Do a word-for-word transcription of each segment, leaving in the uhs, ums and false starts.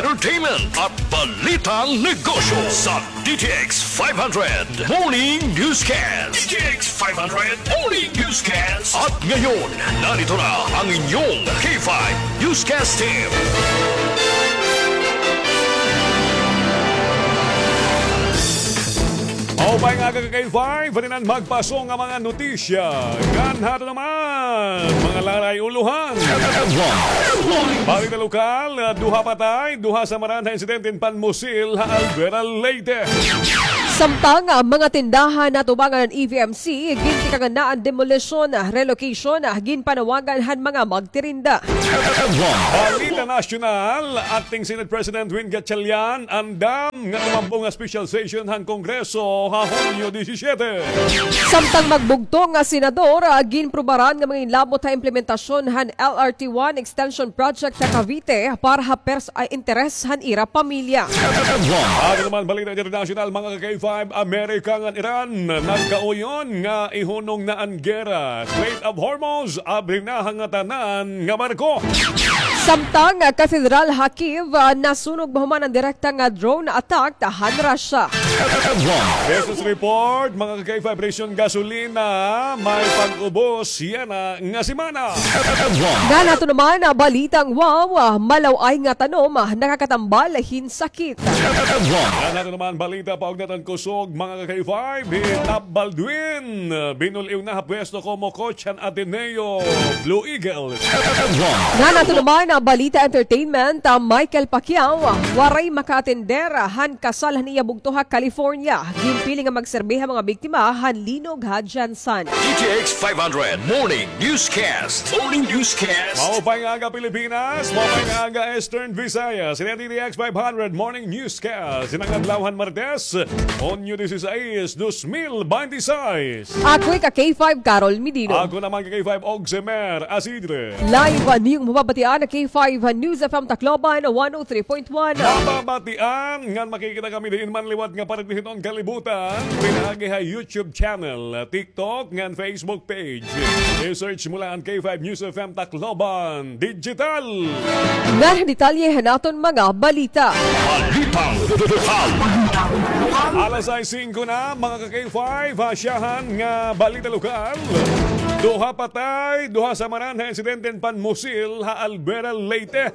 entertainment at balitang negosyo sa D T X five hundred Morning Newscast. D T X five hundred Morning Newscast. At ngayon, narito na ang inyong K five Newscast Team. Maupay nga aga ka K five, pwede na magpaso nga mga notisya. Ngan hato naman, mga laray ulohan. Balita lokal, duha patay, duha samaran ha insidente hin panmusil ha Albuera, Leyte. Samtang, ah, mga tindahan natubangan han E V M C, gintikang na an demolition, ah, relocation, ah, ginpanawagan han mga magtirinda. Balita nasyonal, Acting Senate President Win Gatchalian andam nga tumambong ha special session han Kongreso ha Hunyo disisyete. Samtang magbugto nga senador, ah, ginprubaran nga manginlabot ha implementasyon han L R T one extension project ha Cavite para ha pers-, ah, interes han ira pamilya. Ato naman balita internasyonal, mga ka K five, Amerika ngan Iran nagkauyon nga ihunong na an gera. Strait of Hormuz, abri na ha ngatanan nga barko. Samtang, ah, katedral ha Kyiv, ah, nasunog mahuman an direkta nga drone attack han Russia. Business report, mga ka K five, presyon gasolina, may pag-ubos yana nga semana. Ngan hato naman, ah, balitang wow, ah, malaw-ay nga tanom, ah, nakakatambal hin sakit. Ngan hato naman balita, paugnat han kusog, mga ka K five, hi Tap Baldwin, ah, binul-iw na ha pwesto komo coach han Ateneo Blue Eagles. Ngan hato naman, ah, balita entertainment, ah, Michael Pacquiao, ah, waray makaatender, ah, han kasal han iya bugto ha California. Ginpili nga magserbi ha mga biktima han linog ha GenSan. D T X five hundred Morning Newscast. Morning Newscast. Maupay nga aga, Pilipinas. Maupay nga aga, Eastern Visayas. Ini an D T X five hundred Morning Newscast. Ini nga adlaw han Martes, Hunyo disisais, dos mil bente seis. Ako hi ka K five, Carol Medino. Ako naman ka K five, Ogsemer Asidre. Live, ah, niyong mababatian an K five News F M Tacloban, one oh three point one. Mababatian ngan makikita kami diin man liwat nga parte hiton kalibutan. Pinaagi ha YouTube channel, TikTok, ngan Facebook page. I-search mo la an K five News F M Tacloban Digital. Ngan detalye han aton mga balita. Balitang lokal. Alas sais singko na, mga ka K five, ha syahan nga balita lokal. Duha patay, duha samaran ha insidente hin panmusil ha Albuera, Leyte.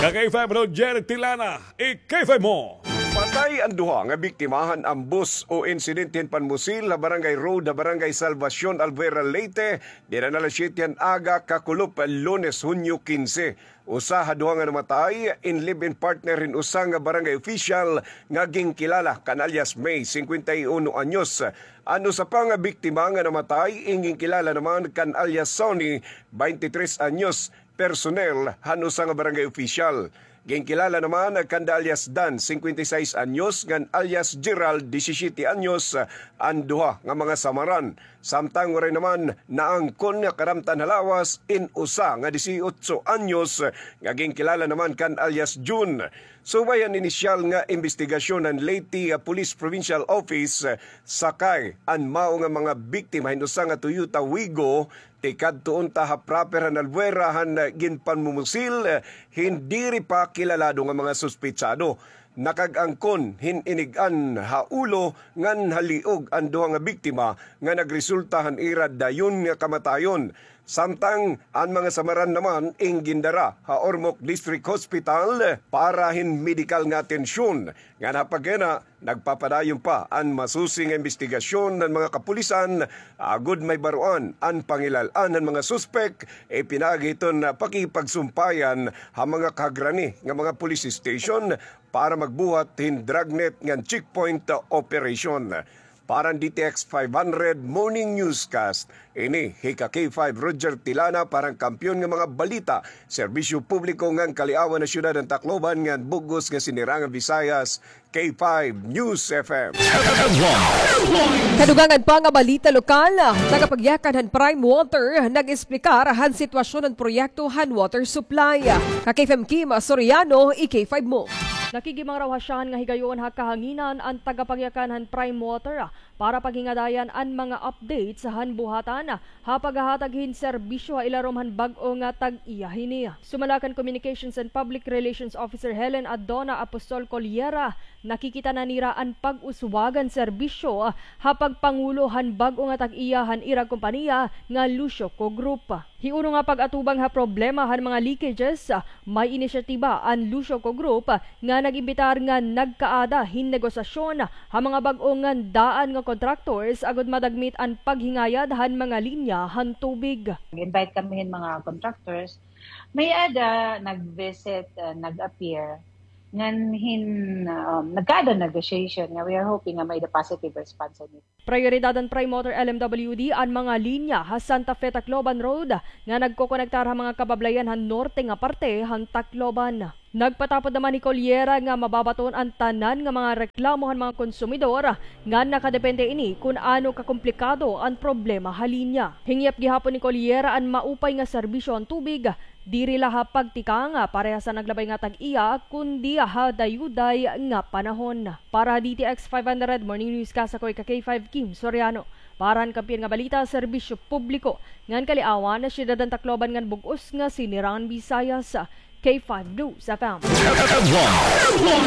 Ka K five, Roger Tilana, i-K five mo. Patay an duha nga biktima han ambos o insidente hin panmusil ha Barangay Road, ha Barangay Salvacion, Albuera, Leyte, dida han alas siyete han aga kakulop Lunes, Hunyo kinse. Usa ha duha nga namatay, in live-in partner hin usa nga barangay official nga ginkilala kan alias May, singkwenta y uno anyos. An usa pa nga biktima nga namatay, in ginkilala naman kan alias Sonny, baynte tres anyos, personnel han usa nga barangay official. Ginkilala naman kanda alias Dan, singkwenta y sais anyos, ngan alias Gerald, disisiyete anyos, an duha nga mga samaran. Samtang waray naman naangkon nga karamtan ha lawas in usa nga disiotso anyos nga ginkilala naman kan alias Jun. Subay han inisyal nga imbestigasyon han Leyte Police Provincial Office, sakay an mao nga mga biktima hin usa nga Toyota Wigo, tikadto unta ha proper han Albuera han ginpanmumusil hin diri pa kilalado nga mga suspetsado. Nakag-angkon hin inig-an ha ulo ngan ha liog an duha nga biktima nga nagresulta han ira dayon nga kamatayon. Samtang an mga samaran naman in gindara ha Ormoc District Hospital para hin medikal nga atensyon. Ngan ha pagkayana, nagpapadayon pa an masusi nga imbestigasyon han mga kapulisan agod mahibaroan an pangilal-an han mga suspek, ipinaagi hiton pakikipagsumpayan ha mga kahagrani nga mga police station para magbuhat hin dragnet ngan checkpoint operation. Para han D T X five hundred Morning Newscast, ini hi ka K five Roger Tilana para han Kampiyon nga mga Balita, Serbisyo Publiko ngan Kaliawan ha Syudad han Tacloban ngan bug-os nga Sinirangan Visayas, K five News F M. Kadugangan pa nga balita lokal, tagapagyakan han Prime Water nag-esplikar han sitwasyon han proyekto han water supply. Ka K F M Kim Soriano, i-K five mo. Nakigimangraw ha siyahan nga higayon ha kahanginan an tagapangyakan han Prime Water para paghingadayan an mga updates han buhatan ha paghahatag hin serbisyo ha ilarom han bag-o nga tag-iya hini. Sumala kan Communications and Public Relations Officer Helen Adona Apostol Coliera, nakikita na nira an pag-uswag han serbisyo ha pagpangulo han bag-o nga tag-iya han ira kompanya nga Lucio Co Group. Hiuno nga pag-atubang ha problema han mga leakages, may inisyatiba an Lucio Co Group nga nag-imbitar nga nagkaada hin negosasyon ha mga bag-o ngan daan nga contractors agod madagmit an paghingayad han mga linya han tubig. Nag-invite kami hin mga contractors. May-ada nag-visit, ah, nag-appear. Ngan hin, um, nagkaada negotiation nga we are hoping nga may-ada positive response on it. Prayoridad han Prime Water L M W D an mga linya ha Santa Fe Tacloban Road nga nagkokonektar ha mga kabablayan han norte nga parte han Tacloban. Nagpatapod naman hi Coliera nga mababaton an tanan nga mga reklamo han mga konsumidor nga nakadepende ini kun ano kakomplikado an problema ha linya. Hingyap gihapon ni Coliera an maupay nga serbisyo han tubig, diri la ha pagtikang parehas han naglabay nga tag-iya, kundi ha dayuday nga panahon. Para ha D T X five hundred Morning Newscast, ako ika K five Kim Soriano. Para han Kampiyon nga Balita, Serbisyo Publiko ngan Kaliawan, Syudad han Tacloban ngan bug-os nga Sinirangan Visayas, K five News F M.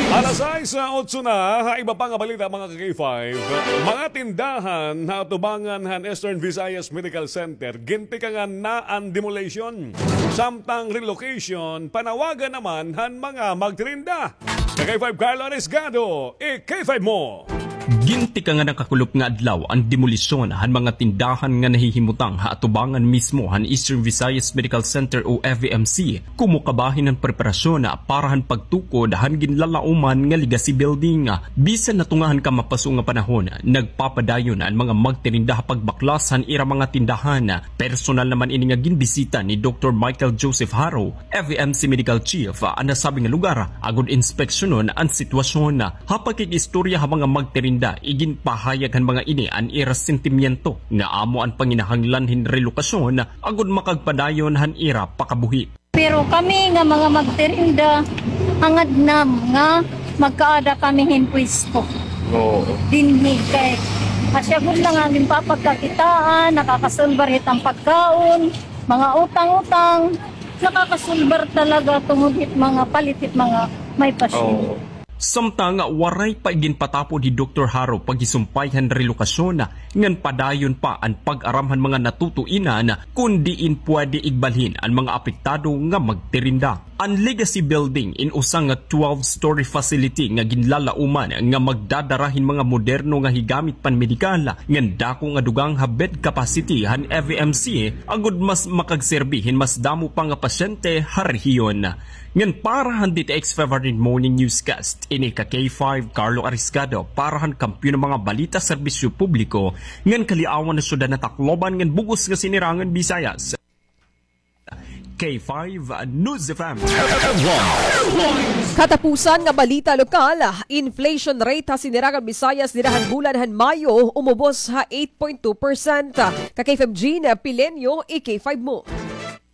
Alas sais, ah, otso na, ha iba pa nga balita, mga ka-K five. Mga tindahan ha atubangan han Eastern Visayas Medical Center, gintikangan na an demolition. Samtang relocation, panawagan naman han mga magtirinda. Ka-K five Carlo Arisgado, i-K five mo. Gintikangan na kakulop nga adlaw an demolisyon han mga tindahan nga nahihimutang ha atubangan mismo han Eastern Visayas Medical Center o F V M C, komo kabahin han preparasyon para han pagtukod han ginlalauman nga Legacy Building. Bisan natunga han kamapaso nga panahon, nagpapadayon an mga magtirinda ha pagbaklas han ira mga tindahan. Personal naman ini nga ginbisita ni Doktor Michael Joseph Haro, F V M C Medical Chief, an nasabi nga lugar agod inspeksyonon an sitwasyon. Ha pakig-istorya ha mga magtirinda, iginpahayag han mga ini an ira sentimiento nga amo an panginahanglan hin relokasyon agod makagpadayon han ira pakabuhi. Pero kami nga mga magtirinda, hangad nam nga magkaada kami hin pwesto. Oo. Dinhi kay asya gud lang an ginpapagkakitaan, nakakasulbar hit an pagkaon, mga utang-utang, nakakasulbar talaga tungod hit mga palit hit mga may pasyente. Oo. Samtang waray pa iginpatapod hi Doktor Haro paghisumpay han relokasyon, ngan padayon pa an pag-aram han mga natutuinan kon diin pwede igbalhin an mga apektado nga magtirinda. An Legacy Building in usa nga twelve-story facility nga ginlalauman nga magdadara hin mga moderno nga higamit panmedikal ngan dako nga dugang ha bed capacity han F V M C agod mas makagserbi hin mas damo pa nga pasyente ha rehiyon. Ngan para han D T X five hundred Morning Newscast, ini ka K five Carlo Arisgado para han Kampiyon nga mga Balita, Serbisyo Publiko ngan Kaliawan, Syudad han Tacloban ngan bug-os nga Sinirangan Visayas, K five News F M. Katapusan nga balita lokal, inflation rate ha Sinirangan Visayas dida han bulan han Mayo umubos ha eight point two percent. Ka K five Jean Pileño, i-K five mo.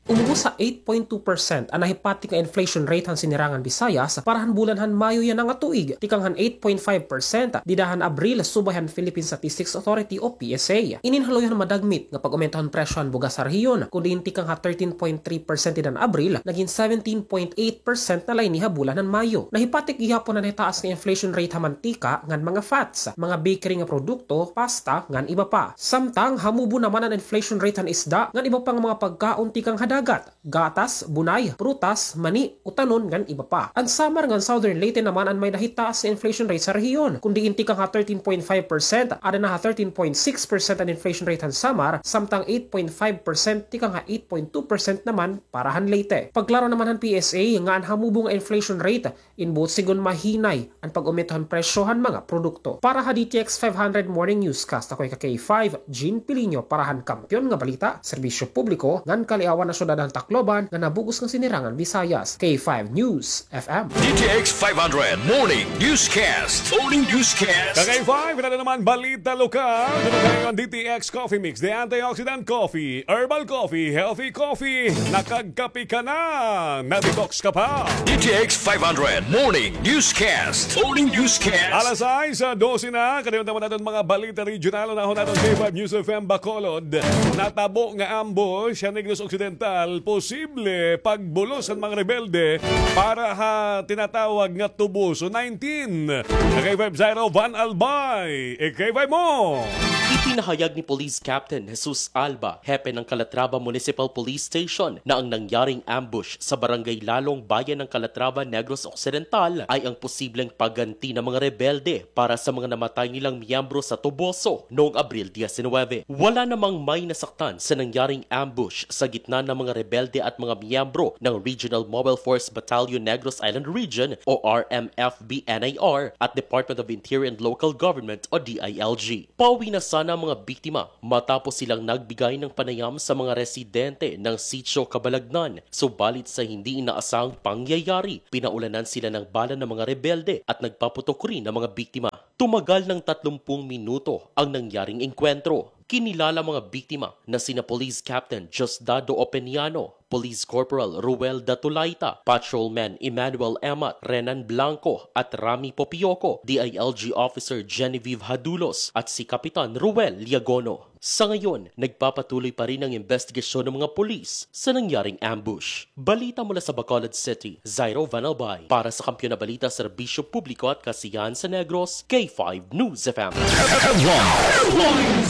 Umubos ha eight point two percent an nahipatik nga inflation rate han Sinirangan Visayas para han bulan han Mayo yana nga tuig, tikang han eight point five percent dida han Abril, subay han Philippine Statistics Authority o P S A. Inin haluyon han madagmit nga pag-umento han presyo han bugas ha rehiyon, kon diin tikang ha thirteen point three percent dida han Abril, nagin seventeen point eight percent na la ini ha bulan han Mayo. Nahipatik gihapon an nahitaas nga inflation rate ha mantika ngan mga fats, mga bakery nga produkto, pasta, ngan iba pa. Samtang hamubo naman an inflation rate han isda ngan iba pa nga mga pagkaon tikang ha dagat, gatas, bunay, prutas, mani, utanon, ngan iba pa. An Samar ngan Southern Leyte naman an may nahitaas nga inflation rate sa rehiyon, kon diin tikang ha thirteen point five percent, ada na ha thirteen point six percent an inflation rate han Samar, samtang eight point five percent tikang ha eight point two percent naman para han Leyte. Pagklaro naman han P S A nga an hamubo nga inflation rate in buot sigon mahinay an pag-umento han presyo han mga produkto. Para ha D T X five hundred Morning Newscast, ako ika K five Jean Pileño para han Kampiyon nga Balita, Serbisyo Publiko ngan Kaliawan, Syudad Dadan Tacloban nga nabug-os nga sinirangan Visayas. K five News F M. D T X five hundred Morning Newscast. Morning Newscast. Ka K five, ito na naman balita lokal. Dito tayo ang D T X Coffee Mix, the antioxidant coffee, herbal coffee, healthy coffee. Nakagkape ka na, na-detox ka pa. D T X five hundred Morning Newscast. Morning Newscast. Alas sais, ah, dose na. Kadiyot naman naton mga balita regional. Unahon naton K five News F M Bacolod. Natabo nga ambush sa Negros Occidental. Posible pagbulos han mga rebelde para ha tinatawag nga Tuboso nineteen. Ka K five Zairo Van Albay. I-K five mo. Ipinahayag ni Police Captain Jesus Alba, hepe ng Calatrava Municipal Police Station, na ang nangyaring ambush sa Barangay Lalong, bayan ng Calatrava, Negros Occidental, ay ang posibleng pagganti ng mga rebelde para sa mga namatay nilang miyembro sa Toboso noong Abril diecinuebe. Wala namang may nasaktan sa nangyaring ambush sa gitna ng mga rebelde at mga miyembro ng Regional Mobile Force Battalion Negros Island Region o R M F B N I R at Department of Interior and Local Government o D I L G. Pauwi na sana ang mga biktima matapos silang nagbigay ng panayam sa mga residente ng Sitio Cabalagnan. Subalit sa hindi inaasahang pangyayari, pinaulanan sila ng bala ng mga rebelde at nagpaputok rin ang mga biktima. Tumagal ng tatlumpung minuto ang nangyaring engkwentro. Kinilala mga biktima na sina Police Captain Diosdado Openiano, Police Corporal Ruel Datulaita, Patrolman Emmanuel Emat, Renan Blanco at Rami Popioco, D I L G Officer Genevieve Hadulos at si Kapitan Ruel Liagono. Sa ngayon, nagpapatuloy pa rin ang investigasyon ng mga pulis sa nangyaring ambush. Balita mula sa Bacolod City, Zairo Van Albay. Para sa Kampiyon na Balita, Serbisyo Publiko at Kasiyahan sa Negros, K five News F M.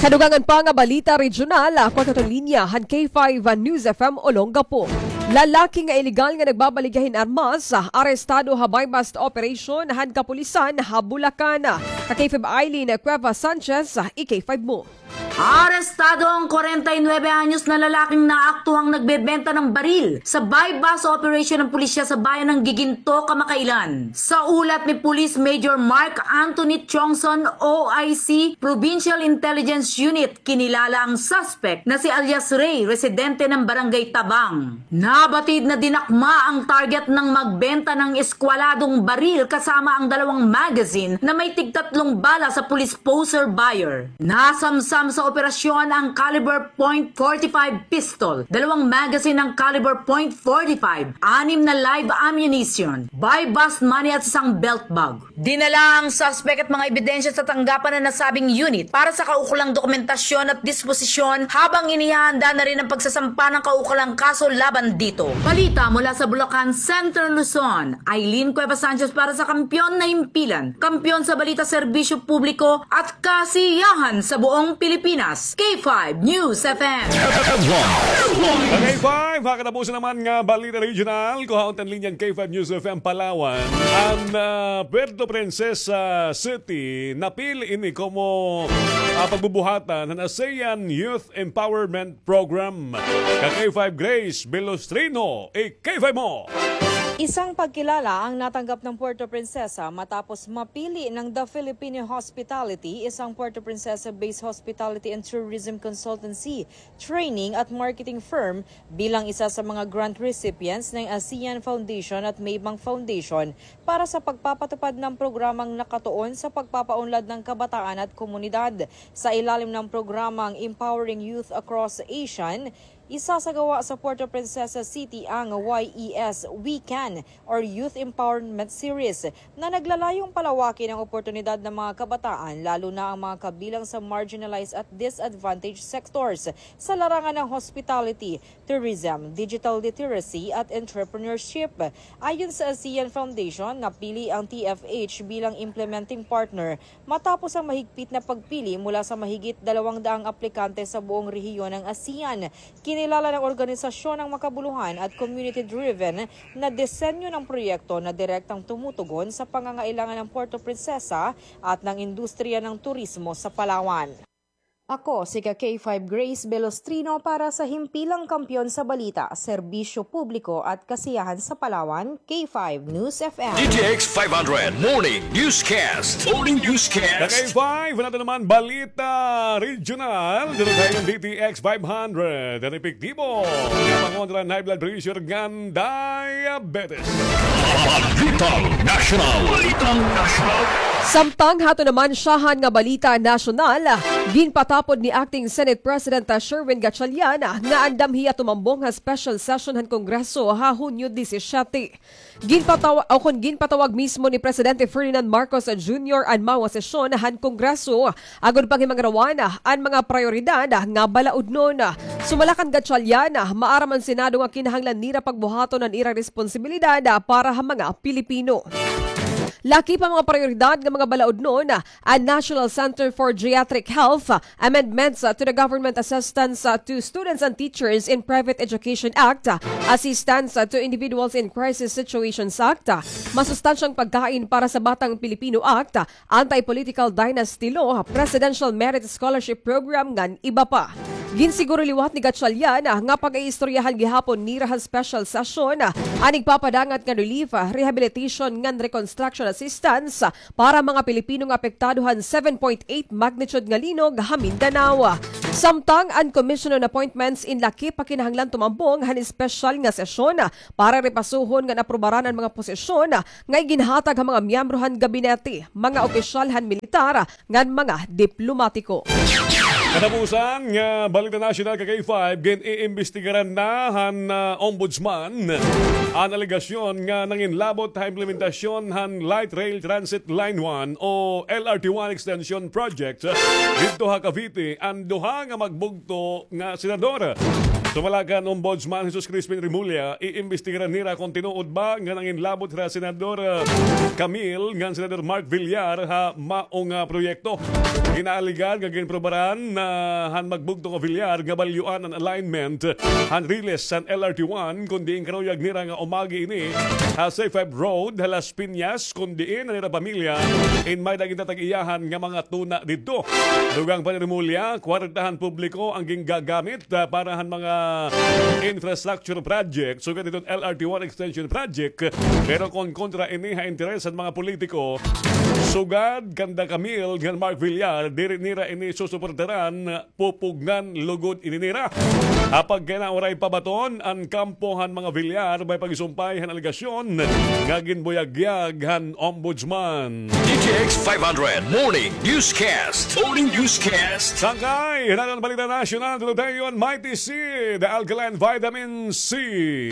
Sa dugangan pa nga balita regional, ako aton linya han K five News F M Olongapo. Lalaki nga iligal nga nagbabaligya hin armas, arestado ha buy-bust operation han kapulisan ha Bulacan. Ka K five Eileen Cuevas Sanchez, i-K five mo. Arestado ang kwarenta y nuebe anyos na lalaking naaktuhang nagbebenta ng baril sa buy-bust operation ng pulisya sa bayan ng Giginto kamakailan. Sa ulat ni Police Major Mark Anthony Chongson, O I C, Provincial Intelligence Unit, kinilala ang suspect na si alias Ray, residente ng Barangay Tabang. Nabatid na dinakma ang target ng magbenta ng eskwaladong baril kasama ang dalawang magazine na may tigtatlong bala sa police poser buyer. Nasamsam sa operasyon ang caliber point forty-five pistol, dalawang magazine ng caliber point forty-five, anim na live ammunition, buy-bust money at isang belt bag. Dinala ang suspect at mga ebidensya sa tanggapan ng nasabing unit para sa kaukulang dokumentasyon at disposisyon habang inihahanda na rin ang pagsasampa ng kaukulang kaso laban dito. Balita mula sa Bulacan, Central Luzon, Eileen Cuevas Sanchez para sa Kampiyon na Himpilan, Kampiyon sa Balita, Serbisyo Publiko at Kasiyahan sa buong Pilipinas. K five News F M. K five, mga katapusan naman nga balita regional, kuhaon ta an linya han K five News F M Palawan. An, ah, Puerto Princesa City, napili ini komo, ah, pagbubuhatan han ASEAN Youth Empowerment Program. Ka K five Grace Velostrino, i-K five mo. Isang pagkilala ang natanggap ng Puerto Princesa matapos mapili ng The Filipino Hospitality, isang Puerto Princesa-based hospitality and tourism consultancy, training at marketing firm, bilang isa sa mga grant recipients ng ASEAN Foundation at Maybank Foundation para sa pagpapatupad ng programang nakatuon sa pagpapaunlad ng kabataan at komunidad. Sa ilalim ng programang Empowering Youth Across ASEAN, isasagawa sa Puerto Princesa City ang Y E S We Can or Youth Empowerment Series na naglalayong palawakin ang oportunidad ng mga kabataan, lalo na ang mga kabilang sa marginalized at disadvantaged sectors sa larangan ng hospitality, tourism, digital literacy at entrepreneurship. Ayon sa ASEAN Foundation, napili ang T F H bilang implementing partner matapos ang mahigpit na pagpili mula sa mahigit dalawang daang aplikante sa buong rehiyon ng ASEAN. Kinilala ng organisasyon ang makabuluhan at community-driven na disenyo ng proyekto na direktang tumutugon sa pangangailangan ng Puerto Princesa at ng industriya ng turismo sa Palawan. Ako si ka K five Grace Belostrino para sa Himpilang Kampiyon sa Balita, Serbisyo Publiko at Kasiyahan sa Palawan, K five News F M. D T X five hundred Morning Newscast. Morning Newscast. Ka K five, nato naman balita regional. Dito tayo ng D T X five hundred. Ang epektibo nga pangontra high blood pressure ngan diabetes. Balitang National. Balitang National. Samtang hato naman syahan nga balita nasyonal, ginpatapod ni Acting Senate President Sherwin Gatchalian nga andam hiya tumambong ha special session han Kongreso ha Hunyo disisiete. Ginpatawa-, o kon ginpatawag mismo ni Presidente Ferdinand Marcos Junior an mawa sesyon han Kongreso agod panghimangarawan an mga prayoridad nga balaudnon. Sumala kan Gatchalian, maaram an Senado nga kinahanglan nira pagbuhaton an ira responsibilidad para ha mga Pilipino. Lakip han mga prayoridad nga mga balaudnon, an National Center for Geriatric Health, amendments, uh, to the Government Assistance, uh, to Students and Teachers in Private Education Act, uh, Assistance, uh, to Individuals in Crisis Situations Act, uh, masustansyang pagkain para sa Batang Pilipino Act, uh, Anti-Political Dynasty Law, Presidential Merit Scholarship Program, ngan iba pa. Ginsiguro liwat ni Gatchalian, ah, nga pag-iistoryahan gihapon nira han special session, ah, an igpapadangat nga relief, ah, rehabilitation ngan reconstruction assistance, ah, para mga Pilipino nga apektado han seven point eight magnitude nga linog ha Mindanao. Samtang an Commission on Appointments in lakip pa kinahanglan tumambong han espesyal nga sesyon, ah, para repasuhon ngan aprubaran an mga posisyon, ah, nga iginhatag ha mga miyembro han gabinete, mga opisyal han militar, ngan mga diplomatiko. Katapusan nga balita nasyonal ka K five, gin-iimbestigaran na han, ah, Ombudsman an alegasyon nga nanginlabot ha implementasyon han Light Rail Transit Line one o L R T one Extension Project didto ha Cavite an duha nga magbugto nga senador. Sumala kan Ombudsman Jesus Crispin Remulla, iimbestigaran nira kon tinuod ba nga nanginlabot hira Senador, ah, Camille ngan Senador Mark Villar ha mao nga proyekto. Ginaaligar nga ginprobaran na han magbugto nga Villar nga balyuan an alignment han riles han L R T one, kon diin karuyag nira nga umagi ini ha C five Road ha Las Piñas, kon diin an ira pamilya in may-ada gintatag-iyahan nga mga tuna didto. Dugang pa ni Remulla, kwarta han publiko an gingagamit, ah, para han mga infrastructure project, sugad hiton L R T one extension project. Pero kon kontra ini ha interes han mga politiko, sugad kanda Camille ngan Mark Villar, diri nira ini susuportaran, pupugngan lugod ini nira. Ha pagkinawaray pabaton an kampo han mga Villar may pagsumpay han alegasyon nga ginbuyagyag han Ombudsman. D T X five hundred Morning Newscast. Morning Newscast. Sangkay han aton balita nasyonal, tutudayon, Mighty C, the alkaline vitamin C.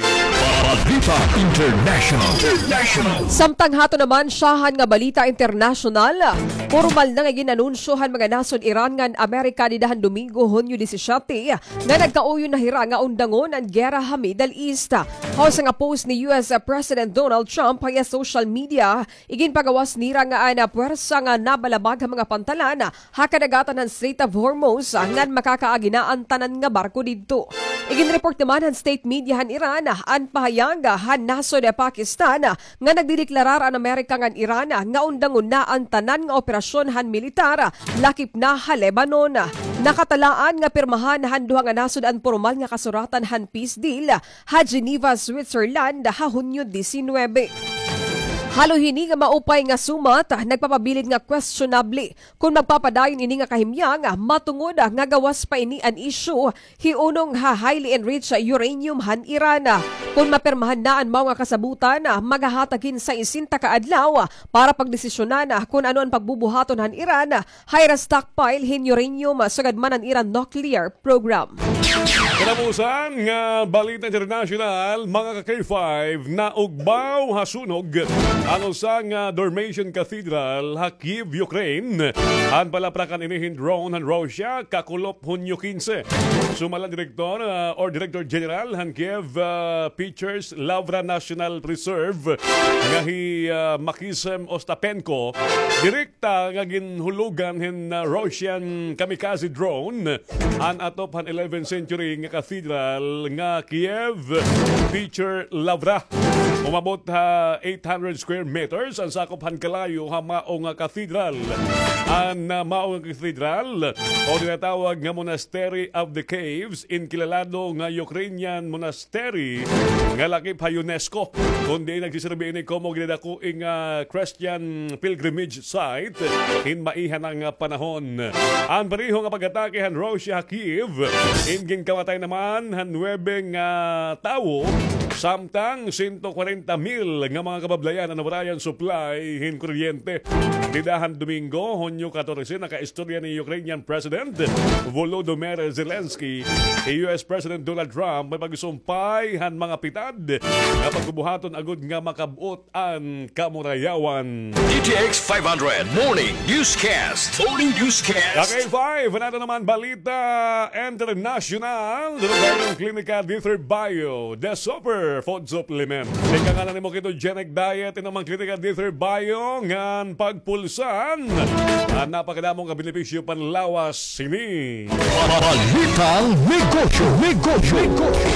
Balita International. International. Samtang hato naman syahan nga balita internasyonal, pormal na nga gin-anunsyo han mga nasod Iran ngan Amerika dida han Domingo, Hunyo disisiete, nga nagkauyon na hira nga undangon an gera ha Middle East. Ha usa nga post ni U S President Donald Trump ha iya social media, iginpagawas nira nga an puwersa nga nabalabag ha mga pantalan ha kadagatan han Strait of Hormuz ngan makakaagi na an tanan nga barko didto. Iginreport naman han state media han Iran an pahayag han nasod Pakistan nga nagdedeklarar an Amerika ngan Iran nga undangon na an tanan nga operasyon han militar, lakip na ha Lebanon. Nakatalaan nga pirmahan han duha nga nasod an pormal nga kasuratan han peace deal ha Geneva, Switzerland, ha Hunyo disinuybe. Halo hini nga maupay nga sumat, nagpapabilin nga questionable kon magpapadayon ini nga kahimyang, matungod nga gawas pa ini an isyu hiunong ha highly enriched uranium han Iran. Kon mapirmahan na an mao nga kasabutan, maghahatag hin sesenta ka adlaw para pagdesisyonan kon ano an pagbubuhaton han Iran ha ira stockpile hin uranium, sugad man an ira nuclear program. Katapusan nga balita internasyonal, mga ka K five, naugbaw ha sunog an usa nga Dormition Cathedral ha Kyiv, Ukraine. Han palaprakan ini hin drone han Russia, kakulop Hunyo kinse. Sumala direktor, ah, or Director General han Kyiv, ah, Petr Lavra National Preserve nga hi, ah, Maxim Ostapenko, direkta nga ginhulugan hin, ah, Russian kamikaze drone an atop han eleventh century nga cathedral nga Kyiv Petr Lavra. Umabot ha eight hundred square meters an sakop han kalayo ha mao nga katedral. An, ah, mao nga katedral o tinatawag nga Monastery of the Caves, inkilalado nga Ukrainian monastery nga lakip ha UNESCO, kon diin nagsiserbi ini komo ginadako nga Christian pilgrimage site hin maiha na nga panahon. An pareho nga pag-atake han Russia ha Kyiv, in ginkamatay naman han nuwebe nga tawo, samtang sento kwarenta mil nga mga kabablayan an nawarayan supply hin kuryente. Dida han Domingo, Hunyo katorse, nakaistorya ni Ukrainian President Volodymyr Zelensky, U S President Donald Trump may pagsumpay han mga pitad nga pagbubuhaton agod nga makab-ot an kamurayawan. D T X five hundred Morning Newscast. Morning Newscast. K five, nato naman balita international. Dito tayo ng Klinika D three Bio, the super food supplement. Ika nga na nimo ketogenic diet, in naman Klinika D three Bio, ngan pagpulsan. An napakadamo nga benepisyo panlawas sini. Balitang negosyo, negosyo, negosyo.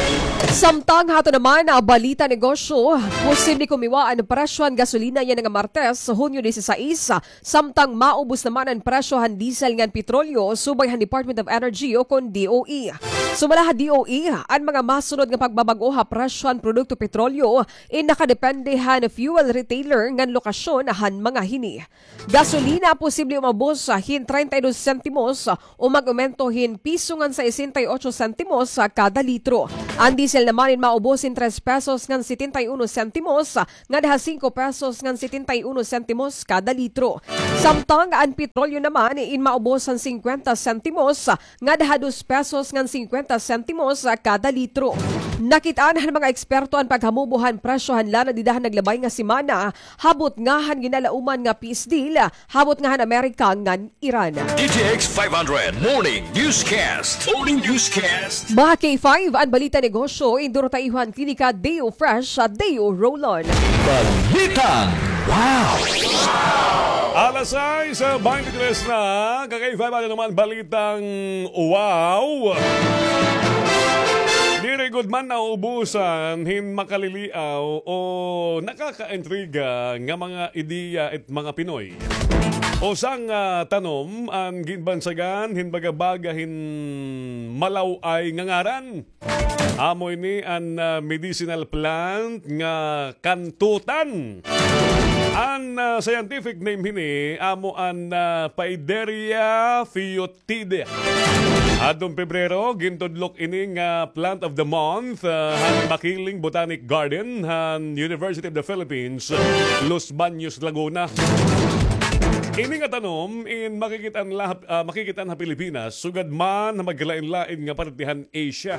Samtang hato naman, ah, balita negosyo, posible kumiwa an presyo han gasolina yana nga Martes, Hunyo disisais, samtang maubos naman an presyo han diesel ngan petrolyo, subay han Department of Energy o kon D O E. Sumala ha D O E, an mga masunod nga pagbabag-o ha presyo han produkto petrolyo, in nakadepende han fuel retailer ngan lokasyon han mga hini. Gasolina posible umabos hin treinta y dos sentimos o mag-umento hin piso ngan sesenta y ocho sentimos kada litro. An diesel naman in maubos hin tres pesos ngan setenta y uno sentimos ngada ha singko pesos ngan setenta y uno sentimos kada litro. Samtang an petrolyo naman in maubos han singkwenta sentimos ngada ha dos pesos ngan singkwenta sentimos kada litro. Nakit-an han mga eksperto an paghamubo han presyo han lana dida han naglabay nga semana, ha butnga han ginalauman nga peace deal ha butnga han Amerika ngan Iran. D T X five hundred Morning Newscast. Morning Newscast. Mga K five, an balita negosyo, in duro ha iyo han Klinika Deo Fresh, Deo Roll-On. Balitang Wow! Alas sais, ah, twenty-three na, ka-K five, ano naman balitang wow? Diri gud man nauubusan hin makaliliaw o nakakaintriga nga mga ideya it mga Pinoy. Usa nga tanom an ginbansagan hin baga-baga hin malaw-ay nga ngaran. Amo ini an, ah, medicinal plant nga kantutan. An, ah, scientific name hini amo an, ah, Paideria foetida. Adtong Pebrero, gintudlok ini nga Plant of the Month, ah, han Makiling Botanic Garden han University of the Philippines, Los Baños, Laguna. Ini nga tanom in makikit-an la-, ah, makikit-an ha Pilipinas, sugad man ha magkalain-lain nga parte han Asia.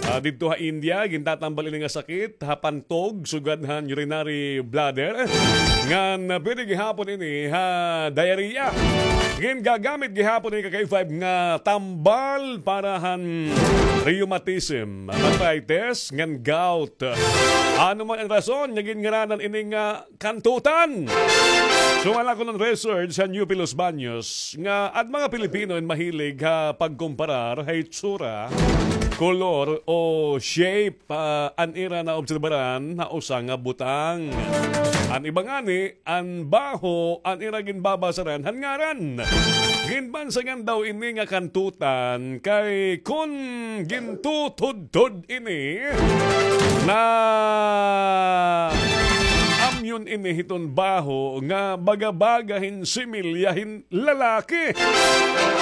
Ah, didto ha India, gintatambal ini nga sakit ha pantog, sugad han urinary bladder. Ngan, ah, pwede gihapon ini ha diarrhea. Gingagamit gihapon ini ka-K five nga tambal para han rheumatism, arthritis, ngan gout. Ano man an rason nga ginngaranan ini nga kantutan. Sumala kuno han research han U P Los Baños nga an mga Pilipino in mahilig ha pagkomparar ha itsura, kolor o shape, ah, an ira naobserbaran ha usa nga butang. An iba ngani, an baho an ira ginbabasaran han ngaran. Ginbansagan daw ini nga kantutan kay kon gintutudtod ini, naamyon ini hiton baho nga baga-baga hin similya hin lalaki.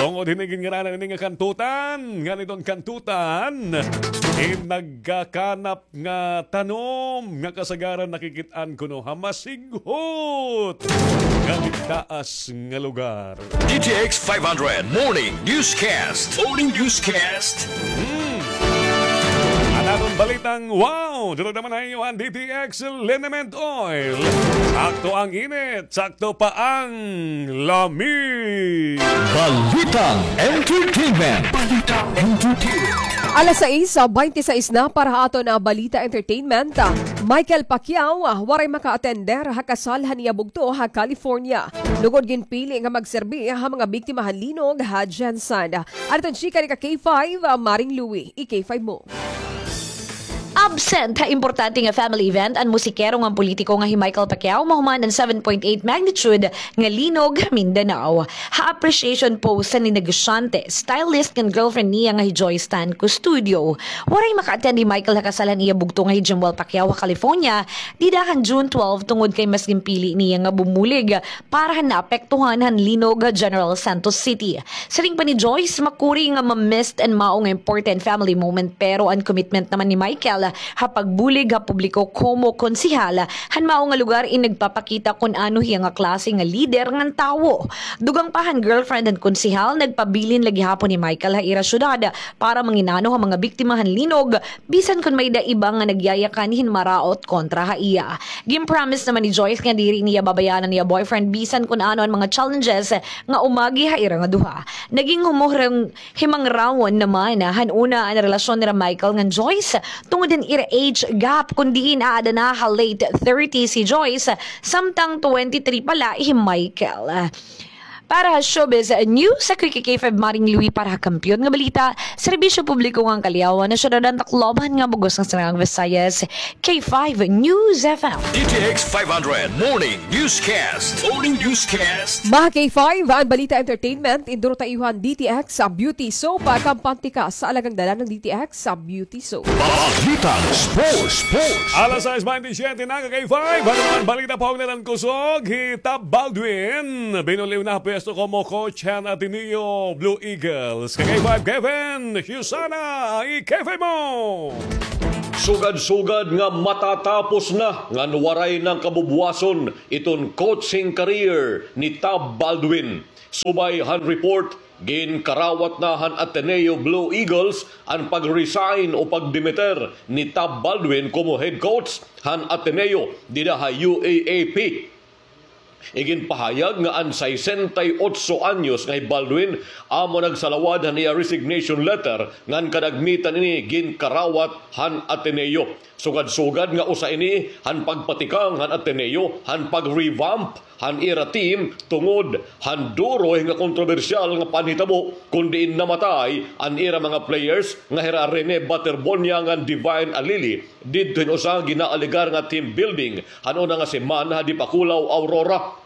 Tungod hini ginngaranan ini nga kantutan, ngan iton kantutan in nagkakanap nga tanom nga kasagaran nakikit-an kuno ha masighot nga itaas nga lugar. D T X five hundred Morning Newscast. Morning Newscast. Hmm. An aton balitang wow, durog naman ha iyo an D T X Liniment Oil. Sakto ang init, sakto pa ang lami. Balitang entertainment. Balitang entertainment. Alas sais, ah, twenty-six na para ha aton, ah, balita entertainment. Ah, Michael Pacquiao, ah, waray maka-attender ha kasal han iya bugto ha California. Lugod ginpili nga magserbi ha mga biktima han linog ha GenSan. Ano iton chika ni ka K five, ah, Maring Louie, i-K five mo. Absent ha importante nga family event an musikero ngan politiko nga hi Michael Pacquiao mahuman an seven point eight magnitude nga linog ha Mindanao. Ha appreciation post han negosyante, stylist ngan girlfriend niya nga hi Joyce Tan Custodio. Waray maka-attend hi Michael ha kasal han iya bugto nga hi Jimwell Pacquiao ha California dida han June twelve tungod kay mas ginpili niya nga bumulig para han naapektuhan han linog ha General Santos City. Siring pa ni Joyce, makuri nga ma-missed an mao nga important family moment, pero an commitment naman ni Michael ha pagbulig ha publiko komo konsehal han mao nga lugar in nagpapakita kon ano hiya nga klase nga lider ngan tawo. Dugang pa han girlfriend han konsehal, nagpabilin la gihapon hi Michael ha ira syudad para manginano ha mga biktima han linog, bisan kon may-ada iba nga nagyayakan hin maraot kontra ha iya. Gin-promise naman ni Joyce nga diri niya babayaan an iya boyfriend bisan kon ano an mga challenges nga umagi ha ira nga duha. Naging humuhurong himangrawon naman han una an relasyon nira Michael ngan Joyce tungod han ira age gap, kon diin aada na ha late thirties hi Joyce, samtang twenty-three pa la hi Michael. Para ha Showbiz News, ako hi K five Maring Louie para ha Kampiyon nga Balita, Serbisyo Publiko ngan Kaliawan ha Syudad han Tacloban ngan bug-os nga Sinirangan Visayas, K five News F M. D T X five hundred Morning Newscast. Morning Newscast. Mga K five, an balita entertainment, induro ta iyo han D T X sa Beauty Soap. Kampante ka sa alagang dala ng D T X sa Beauty Soap. Balitang sports, sports. Alas sais baynte siyete na, ka K five. Ano naman balita pa, ugnayan kusog hi Tab Baldwin. Binuliw na pwesto komo coach han Ateneo Blue Eagles. Ka K five, Kevin Susana, i-K five mo. Sugad-sugad nga matatapos na ngan waray na kabubwason iton coaching career ni Tab Baldwin. Subay han report, ginkarawat na han Ateneo Blue Eagles an pag-resign o pagdimiter ni Tab Baldwin komo head coach han Ateneo dida ha U A A P. Iginpahayag nga an sesenta y otso anyos nga hi Baldwin amo nagsalawad han iya resignation letter ngan kadagmitan ini ginkarawat han Ateneo. Sugad-sugad nga usa ini han pagpatikang han Ateneo, han pag-revamp han ira team tungod han duro nga kontrobersyal nga panhitabo kon diin namatay an ira mga players nga hira Rene Baterbonia ngan Divine Alili didto hin usa ginaalegar nga team building han una nga semana ha Dipakulaw, Aurora.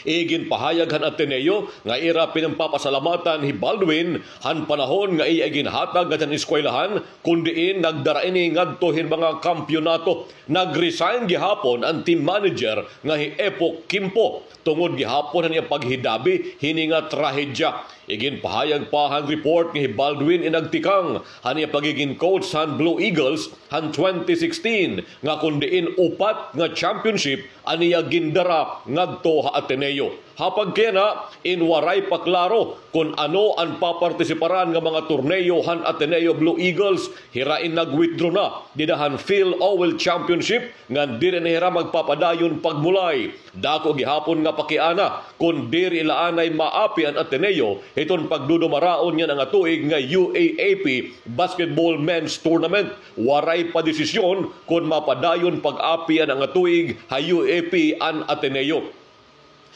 Iginpahayag han Ateneo nga ira pinanpapasalamatan hi Baldwin han panahon nga iya iginhatag ngadto han eskwelahan, kon diin nagdara ini ngadto hin mga kampiyonato. Nag-resign gihapon an team manager nga hi Epo Kimpo tungod gihapon han iya paghidabi hini nga trahedya. Iginpahayag pa han report nga hi Baldwin in nagtikang han iya pagigin coach han Blue Eagles han twenty sixteen, nga kon diin upat nga championship an iya gindara ngadto ha Ateneo. Ha pagkayana, in waray pa klaro kon ano an papartisiparan nga mga torneo han Ateneo Blue Eagles, hira in nag-withdraw na dida han Phil Owell Championship ngan diri na hira magpapadayon pagmulay. Dako gihapon nga pakiana kon diri la anay maapi an Ateneo hiton pagdudumaraon yana nga tuig nga U A A P Basketball Men's Tournament. Waray pa desisyon kon mapadayon pag-api yana nga tuig ha U A P an Ateneo.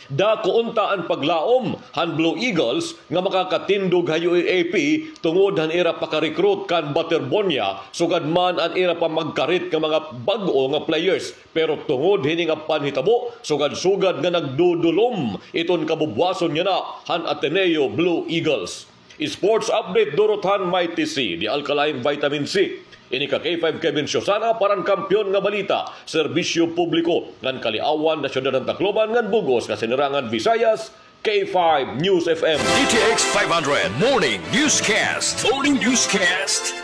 Dako unta an paglaom han Blue Eagles nga makakatindog ha U A A P tungod han ira paka-recruit kan Baterbonia, sugad man an ira pamagkarit nga mga bag-o nga players. Pero tungod hini nga panhitabo, sugad-sugad nga nagdudulom iton kabubwason yana han Ateneo Blue Eagles. Sports update, durot han Mighty C, the alkaline vitamin C. Ini ka K five Kevin Susana para han Kampiyon nga Balita, Serbisyo Publiko ngan Kaliawan, Syudad han Tacloban ngan bug-os nga Sinirangan Visayas, K five News F M. D T X five hundred Morning Newscast. Morning Newscast.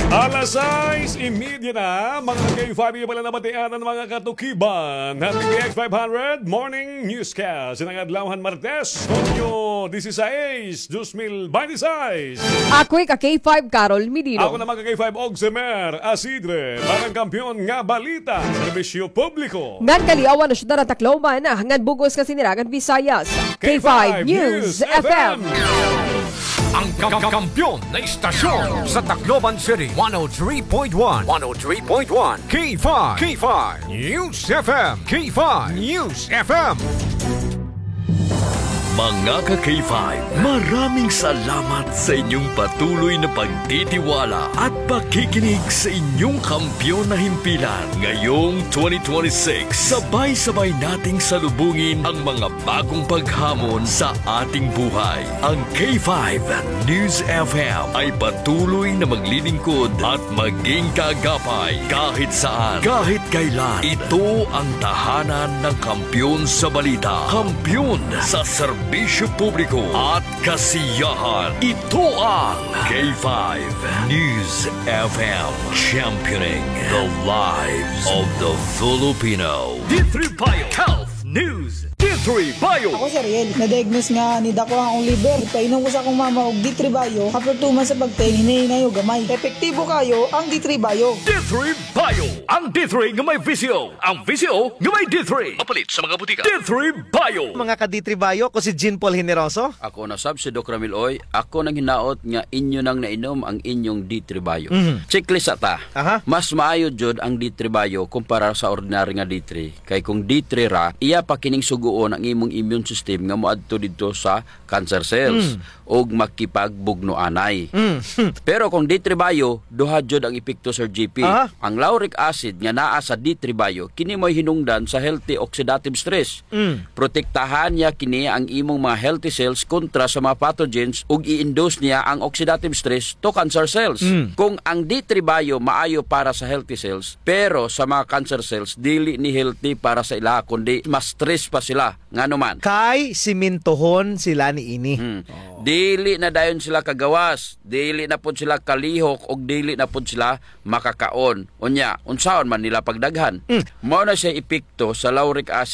Alas sais y media na, mga K five, iyo pa la nabatian an mga katukiban han D T X five hundred Morning Newscast. Yana nga adlaw han Martes, Hunyo disisais, dos mil baynte sais. Ako hi ka K five, Carol Medino. Ako naman ka K five, Ogsemer Asidre. Para han Kampiyon nga Balita, Serbisyo Publiko ngan Kaliawan, Syudad han Tacloban ngan bug-os nga Sinirangan Visayas, K five News F M. Ang ka-, kampiyon na istasyon sa Tacloban City, one oh three point one, one oh three point one, K five, K five News F M, K five News F M. Mga ka-K five, maraming salamat sa inyong patuloy na pagtitiwala at pakikinig sa inyong kampiyon na himpilan. Ngayong twenty twenty-six, sabay-sabay nating salubungin ang mga bagong paghamon sa ating buhay. Ang K five News F M ay patuloy na maglilingkod at maging kaagapay kahit saan, kahit kailan. Ito ang tahanan ng kampiyon sa balita, kampiyon sa serbisyo publiko at kasiyahan. Ito ang K five News F M, championing the lives of the Filipino. D three Bio Health News. D three Bio. Ako si Ariel. Na-diagnose nga nidako an akon liver. Ipainom ko sa akon mama og D three Bio. After two months sa pag-take, hinay-hinay og gamay. Epektibo kayo ang D three Bio. D three Bio. Ang D three nga may V C O. Ang V C O nga may D three. Mapalit sa mga butika. D three Bio. Mga ka-D three Bio, ko si Jean Paul Generoso. Ako na sab si Doc Ramil Oy. Ako nanghinaot nga inyo nang nainom ang inyong D three Bio. Mhm. Checklist ta. Aha. Mas maayo jud ang D three Bio kumpara sa ordinary nga D three. Kay kung D three ra, iya pa kining sugoon ang imong immune system nga moadto didto sa cancer cells Mm. ug makipagbugno anay. Mm. Pero kung D three Bio, duha jud ang epekto, Sir G P. Aha. Ang lauric acid nga naa sa D three Bio, kini mo'y hinungdan sa healthy oxidative stress. Mm. Protektahan niya kini ang imong mga healthy cells kontra sa mga pathogens ug i-induce niya ang oxidative stress to cancer cells. Mm. Kung ang D three Bio maayo para sa healthy cells, pero sa mga cancer cells, dili ni healthy para sa ila, kundi mas stress pa sila. Ngano man? Kay simintohon sila niini. Hmm. Oh. Dili na dayon sila kagawas, dili na pod sila kalihok, ug dili na pod sila makakaon. Unya, unsaon man nila pagdaghan? Hmm. Mao na siya epekto sa lauric acid